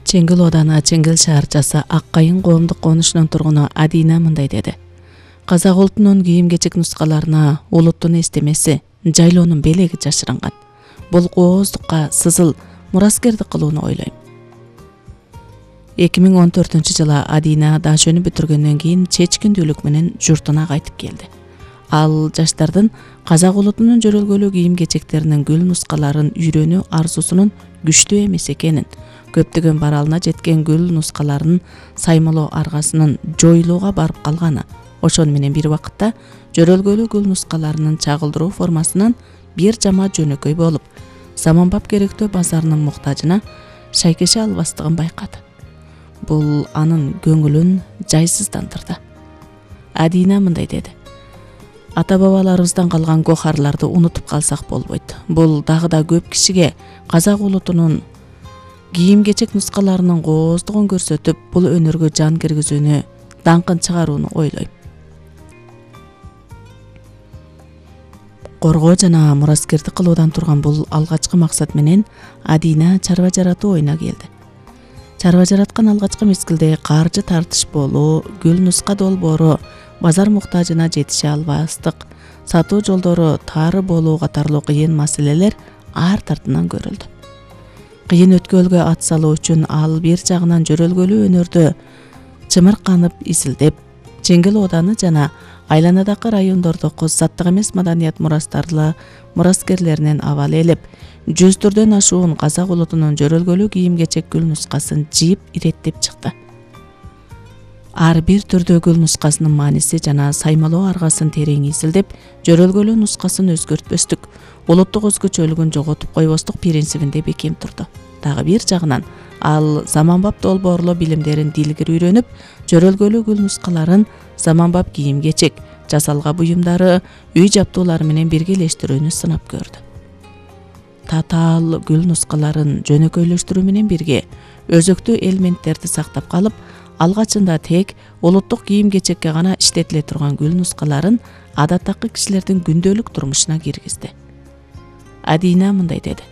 Чеңгил ооданы Чеңгил шаарчасы Ак Кайын коомдук конушунун тургуну Адина мындай деди. Казак улутунун кийим-кечек нускаларына улуттун эстемеси, жайлоонун белеги жашырынган. Бул кооздукка сызыл мураскердик кылууну ойлойм. 2014-жылы Адина дашөнү бүтүргөндөн кийин чечкиндүүлүк менен журтуна кайтып келди. Ал жаштардын казак улутунун жөрөлгөлүү кийим-кечектеринин гүл нускаларын үйрөнүү арзусунун күчтүү эмес экенин, көптөгөн баралына жеткен гүл нускаларынын саймалоо аргасынын жоюлууга барып калганы, ошону менен бир убакытта жөрөлгөлүү гүл нускаларынын чагылдыруу формасынан бир жама жөнөкөй болуп, заманбап керектөө базарынын муктажына шайкеше албастыгын байкады. Бул анын көңүлүн жайсыздандырды. Адина мындай деди. Ата-бабаларыбыздан калган гохарларды унутуп калсак болбойт. Бул дагы да көп кишиге казак улутунун кийим-кечек нускаларынын кооздугун көрсөтүп, бул өнөргө жан киргизүүнү, даңкын чыгарууну ойлойм. Коргоо жана мураскердик кылуудан турган бул алгачкы максат менен Адина чарба жаратуу оюна келди. Чарба жараткан алгачкы мезгилде каржы тартыш болуу, гүл нуска долбоору, базар муктажына жетише албастык, сатуу жолдору тары болуу катарлуу кыйын маселелер ар тартынан көрүлдү. Кыйын өткөлгө ат салуу үчүн ал бир жагынан жөрөлгөлүү өнөрдө чымырканып изилдеп, Чеңгил ооданы жана айланадагы райондордогу заттык эмес маданият мурастарлы мураскерлеринен абал элеп, 100 ашуун казак улутунун жөрөлгөлүү кийим-кечек гүл нускасын жийип иреттеп чыкты. Ар бир түрдүү гүл нускасынын мааниси жана саймалоо аргасын терең изилдеп, жөрөлгөлүү нускасын өзгөртпөстүк, улуттук өзгөчөлүгүн жоготуп койбостук принцибинде бекем турду. Дагы бир жагынан ал заманбап долбоорлоо билимдерин дилгир үйрөнүп, жөрөлгөлүү гүл нускаларын заманбап кийим-кечек, жасалга буюмдары, үй жаптуулары менен биргелештирүүнү сынап көрдү. Татаал гүл нускаларын жөнөкөйлөштүрүү менен бирге өзөктүү элементтерди сактап калып, алгачында тек улуттук кийим-кечекке гана иштетиле турган гүл нускаларын адаттагы кишилердин күндөлүк турмушуна киргизди. Адина мындай деди.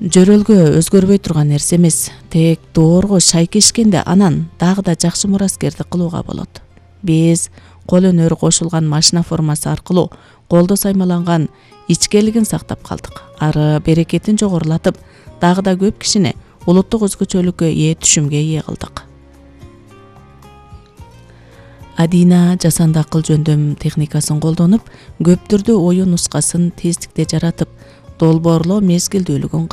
Жөрөлгө өзгөрбөй турган нерсе эмес, тек доорго шайкешкенде анан дагы да жакшы мураскердик кылууга болот. Без, кол өнөр кошулган машина формасы аркылуу колдо саймаланган ичкелигин сактап калдык. Ары берекетин жогорулатып, дагы да көп кишини улуттук өзгөчөлүккө ээ түшүмгө ээ кылдык. Адина жасанды акыл жөндөм техникасын колдонуп, көп түрдүү оюн нускасын тездикте жаратып, долбоорлоо мезгилдүүлүгүн